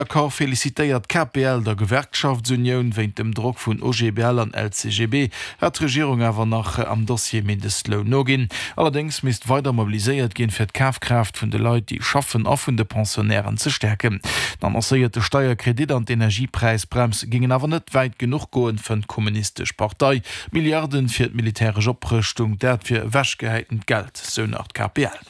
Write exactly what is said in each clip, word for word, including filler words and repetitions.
Accord felicitéiert d'KPL der Gewerkschaftsunioun. Wéint dem Drock vun OGBL an LCGB hat d'Regierung awer nach am Dossier Mindestloun noginn. Allerdéngs misst weider mobiliséiert ginn, fir d'Kafkraaft vun de Leit, déi schaffen a vun de Pensionnairen ze stäerken. Den annoncéierte Steierkredit an d'Energiepräisbrems géingen awer net wäit genuch goen, fënnt d'Kommunistesch Partei. Milliarden fir d'militäresch Oprëschtung, dat wier ewechgehäitent Geld, sou nach d'KPL.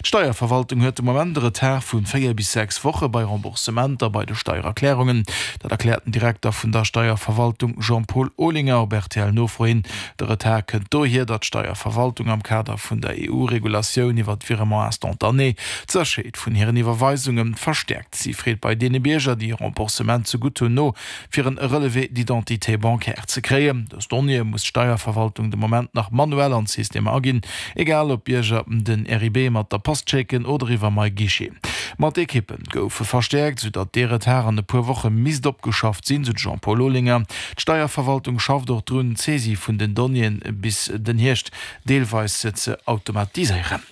D'Steierverwaltung huet de Moment e Retard vu véier bis sechs Woche bei Remboursementer bei de Steiererklärungen. Dat erkläert den Direkter vun der Steierverwaltung Jean-Paul Olinger op RTL-Nofro hin. De Retard kënnt dohier, datt d'Steierverwaltung am Kader vun der EU-Regulatioun iwwer d'Virement instantané d'Sécherheet vun hiren Iwwerweisunge verstäerkt. Si freet bei deene Bierger, déi e Remboursement zegutt hunn, no, fir en Relevé d'identité bancaire ze kréien. Dës Donnéeë muss d'Steierverwaltung de Moment nach manuell an d'Systemer aginn, egal ob d'Bierger den RIB mat der Post schécken oder iwwer MyGuichet. Ma d'Ekippe goufe verstäerkt, sou datt dee Retard an e puer Woche misst opgeschafft sinn, sou de Jean-Paul Olinger. D'Steierverwaltung schafft och drun, d'Saisie vun den Donnéeën bis den Hierscht deelweis ze automatiséieren.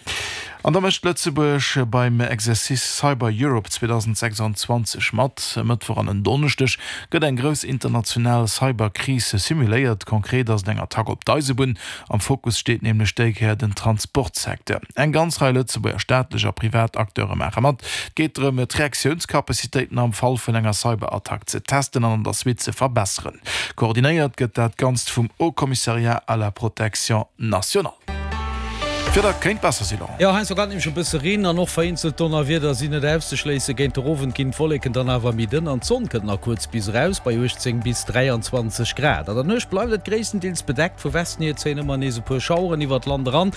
An da mécht Lëtzebuerg beim Exercice Cyber Europe zweedausendsechsanzwanzeg mat. E Mëttwoch an en Donneschdeg gëtt eng grouss international Cyberkris simuléiert. Konkret ass et eng Attack op d'Eisebunn. Am Fokus steet nämlech déi Kéier den Transportsecteur. Eng ganz Rei Lëtzebuerger staatlech a privat Acteure maache mat. Et geet drëm, d'Reaktiounscapacitéiten am Fall vun enger Cyberattack ze testen an an der Suite ze verbesseren. Koordinéiert gëtt dat Ganzt vum Haut Commissariat à la protection nationale. D'Wieder kéint besser sinn, Laurent. Jo, heiansdo kann et nämlech e bësse reen an och vereenzelt Donnerwieder sinn net auszeschléissen. Géint de Owend ginn d'Wolleken dann awer méi dënn an d'Sonn kënnt nach kuerz bis eraus bei uechtzéng bis dräianzwanzeg Grad. An der Nuecht bleift et gréisstendeels bedeckt, vu Westen hier zéien ëmmer nees e puer Schaueren iwwert d'Land eran.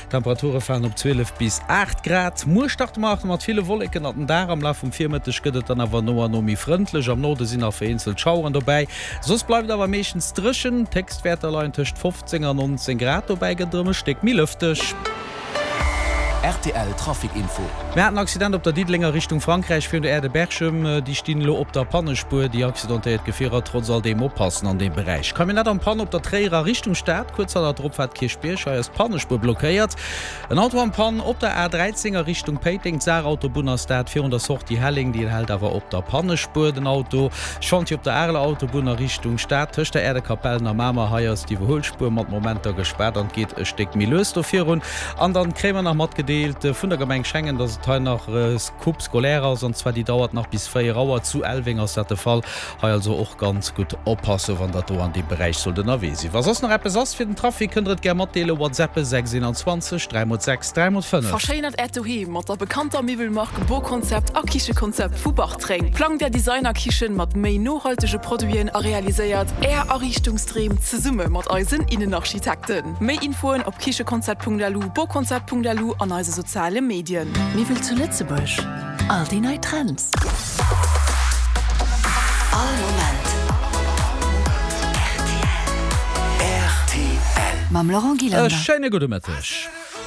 D'Temperature falen op zwielef bis aacht Grad. Muer starte mer nach mat ville Wolleken an den Dag, am Laf vum Virmëtteg gëtt et dann awer no an no méi frëndlech. Am Norde sinn nach vereenzelt Schaueren dobäi, soss bleift et awer meeschtens dréchen. D'Héchstwäerter leien tëscht fofzéng an nonzéng Grad, dobäi gëtt et erëm e Stéck méi lëfteg. Rtl Trafic Info. Mir haten en Accident op der Diddelenger Richtung Frankräich virun der Aire de Berchem. Déi stinn elo op der Pannespuer. Déi accidentéiert Gefierer trotz all deem oppassen an deem Beräich. Camionnette en panne op der Tréierer Richtung Stad, kuerz hannert der Opfaart Kierchbierg. Hei ass d'Pannespuer blockéiert. En Auto en panne op der A dräizéng a Richtung Péiteng. D'Saarautobunn ass dat virun der Sortie Helleng. Déi hält awer op der Pannespuer den Auto. Chantier op der Areler Autobunn a Richtung Stad tëscht der Aire de Capellen a Mamer. Hei ass d'Iwwerhuelspuer mat Momenter gespaart an et geet e Stéck méi lues do virun. An dann kréie mer nach matgedeelt vun der Gemeng Schengen, dass et hei nach Coupe scolaire ass, an zwar déi dauert nach bis véier Auer. Zu Elweng ass dat de Fall. Hei also och ganz gutt oppassen, wann der do an deem Beräich sollt ënnerwee sinn. Wa soss nach eppes ass fir den Trafic, kënnt der et gär matdeelen, WhatsAppen sechs eenanzwanzeg dräi mol sechs dräi mol fënnef. Verschéinert Äert Doheem mat der bekannter Miwwelmark Boconcept a Kichekonzept vu Bartreng. Plangt Är Designerkichen mat méi nohaltege Produiten a realiséiert Är Ariichtungsdreem zesumme mat eisen Innenarchitekten. Méi Infoen op kichekonzept.lu, boconcept.lu an eise soziale Medien. Miwwel zu Lëtzebuerg, all déi nei Trends. All Moment rtl. Mam Laurent E Gillander. Schéine gudde Mëtteg.